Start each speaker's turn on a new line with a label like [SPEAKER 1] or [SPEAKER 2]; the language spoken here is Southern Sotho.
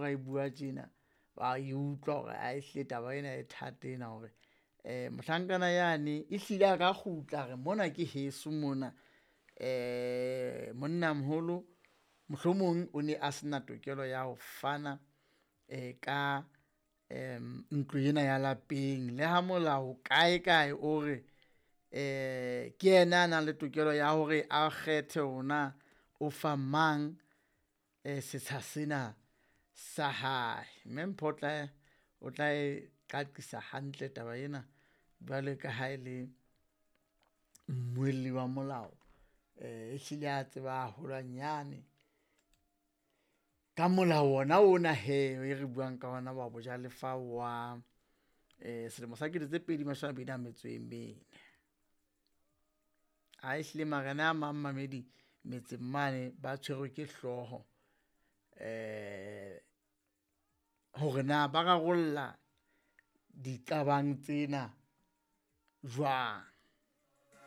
[SPEAKER 1] ba e bua tjena ba e utlwa hore a ehlile taba ena e thata ena hore mohlankana yane e hlile a ka kgutla a re mona ke heso mona. Monnamoholo mohlomong o ne a se na tokelo ya ho fana ka ntlo ena ya lapeng. Le ha molao kae kae o re ke yena a nang le tokelo ya hore a kgethe hore na o fa mang setsha sena sa hae. Mme Mpho o tla e qaqisa hantle taba ena jwale ka ha e le mmuelli wa molao, ehlile a tseba haholwanyane ka molao ona ona hee e re buang ka ona wa bojalefa wa selemo sa kete tse pedi mashome a mabedi a metso e mene. A ehlile marena a mang mmamedi metseng mane ba tshwerwe ke hlooho hore na ba rarolla diqabang tsena jwang.